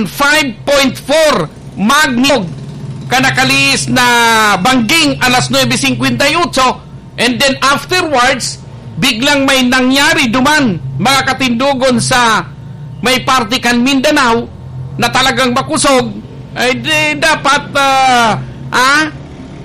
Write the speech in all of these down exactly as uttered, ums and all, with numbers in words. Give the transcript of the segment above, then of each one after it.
five point four magnitude kan nakalihis na bangging alas nuebe singkwenta y otso, and then afterwards, biglang may nangyari duman, mga katindogon, sa may parte kan Mindanao na talagang makusog, ay di, dapat, ah, ah,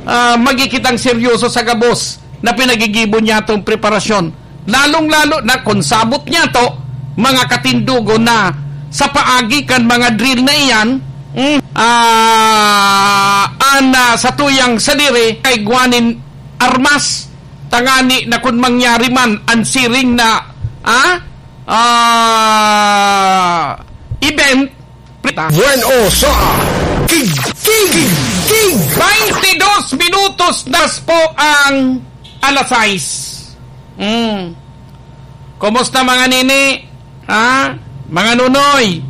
ah, magikitang seryoso sa gabos na pinagigibo niyatong preparasyon. Lalong-lalo na kun sabot niyato, mga katindogon, na sa paagi kan mga drill na iyan, mm, ah, an, ah, satuyang sadiri kay igwa nin armas, tangani na kun mangyari man an siring na, ah, ah, event, Bueno sa King, King, King. Baynte dos minutos na po ang alas sais. Mm. Kumusta, mga nini? Ha? Mga nunoy?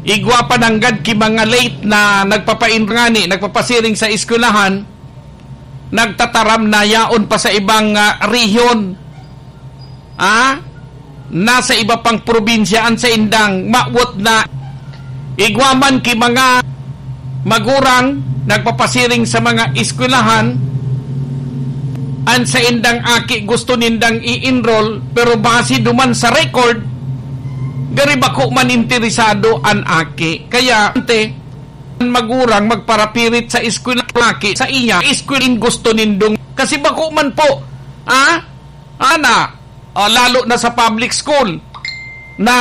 Igwa pa nanggad ki mga late na nagpapainrangani, nagpapasiring sa eskwelahan, nagtataram na yaon pa sa ibang, ah, rehiyon. Ah, nasa iba pang probinsya an saindang mawot na igwa man ki mga magurang nagpapasiring sa mga eskwelahan, an saindang aki gusto nindang i-enroll, pero base duman sa record, gari bako man interesado an aki. Kaya, ante, an magurang magparapirit sa eskwela aki sa iya, eskwela in gusto nindong, kasi bako man po, ah, ana, ah, lalo na sa public school, na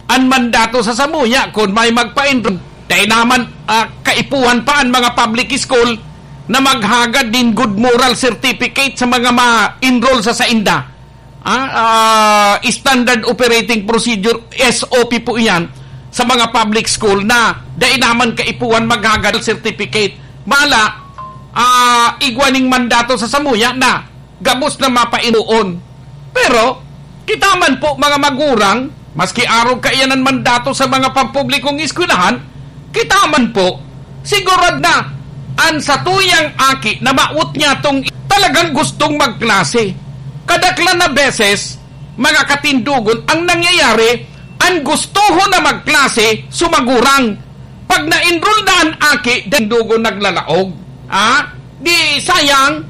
an mandato sa samuya kun may magpa-enroll, dai naman, ah, kaipuhan pa an mga public school na maghagad nin good moral certificate sa mga ma-enroll sa sainda. Ah, ah, standard operating procedure, S O P po iyan, sa mga public school na dai naman kaipuhan maghagad certificate. Mala, ah, igwa ning mandato sa samuya na gabos na mapainuon. Pero, kita man po, mga magurang, maski arog kaiyan an mandato sa mga pampublikong eskwelahan, kita man po, sigurad na an satuyang aki na mawot niya tong talagang gustong magklase. Kadaklan na beses, mga katindogon, ang nangyayari, an gustohon na magklase, sumagurang. Pag na-enroll na an aki, dindugo naglalaog. Ah? Di sayang?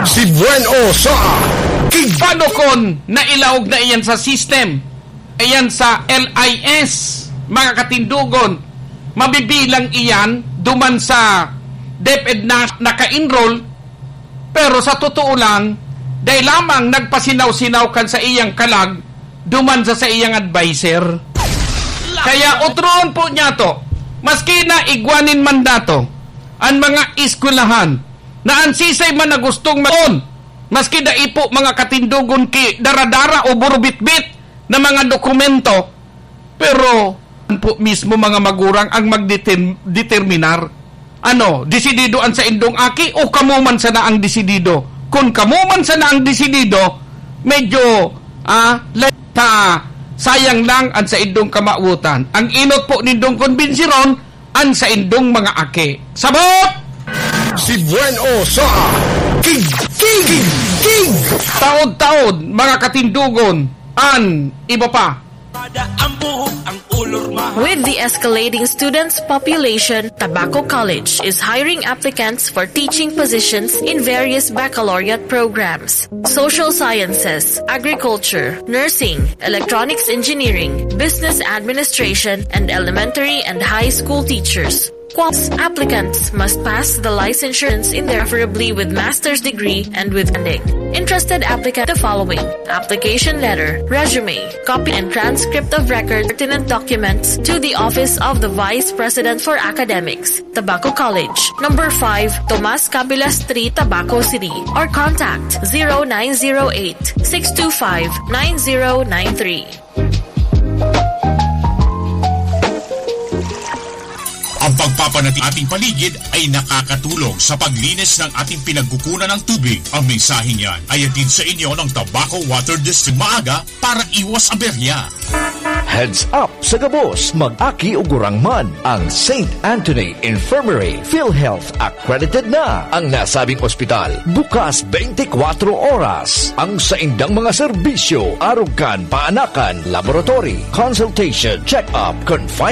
Si Buen O sa King. Paano kun nailaog na iyan sa system? Iyan sa L I S, mga katindogon. Mabibilang iyan duman sa DepEd na naka-enroll, pero sa totoo lang, dai lamang nagpasinaw-sinaw kan sa iyang kalag, duman sa saiyang adviser. Kaya otroon po niya to, maski na igwa nin mandato, an mga eskwelahan, na an sisay man na gustong maon, maski dai po mga katindogon ki daradara o burubitbit na mga dokumento, pero po mismo mga magurang ang magdeterm-, determinar. Ano, desidido an saindong aki o kamo man sana ang desidido? Kun kamo man sana ang desidido, medyo, ah, la-, ta, sayang lang an saindong kamawotan. Ang enot po nindong konbensiron, an saindong mga aki. Sabot! Si Buen O sa King, King, King. Taod-taod, mga katindogon, an iba pa. With the escalating students population, Tabaco College is hiring applicants for teaching positions in various baccalaureate programs: social sciences, agriculture, nursing, electronics engineering, business administration, and elementary and high school teachers. Quals applicants must pass the licensure in their preferably with master's degree and with funding. Interested applicant the following: application letter, resume, copy and transcript of record, pertinent documents to the Office of the Vice President for Academics, Tabaco College, number five, Tomas Cabilas Street, Tabaco City, or contact zero nine zero eight, six two five, nine zero nine three. Ang pagpapanatili ating paligid ay nakakatulong sa paglinis ng ating pinagkukunan ng tubig. Ang mensaheng yan ay hatid sa inyo ng Tabaco Water District. Maaga para iwas aberya. Heads up sa gabos, mag-aki o gurang man. Ang Saint Anthony Infirmary PhilHealth accredited na. Ang nasabing ospital, bukas twenty-four oras. Ang saindang mga serbisyo, arog kan paanakan, laboratory, consultation, check-up, confinement,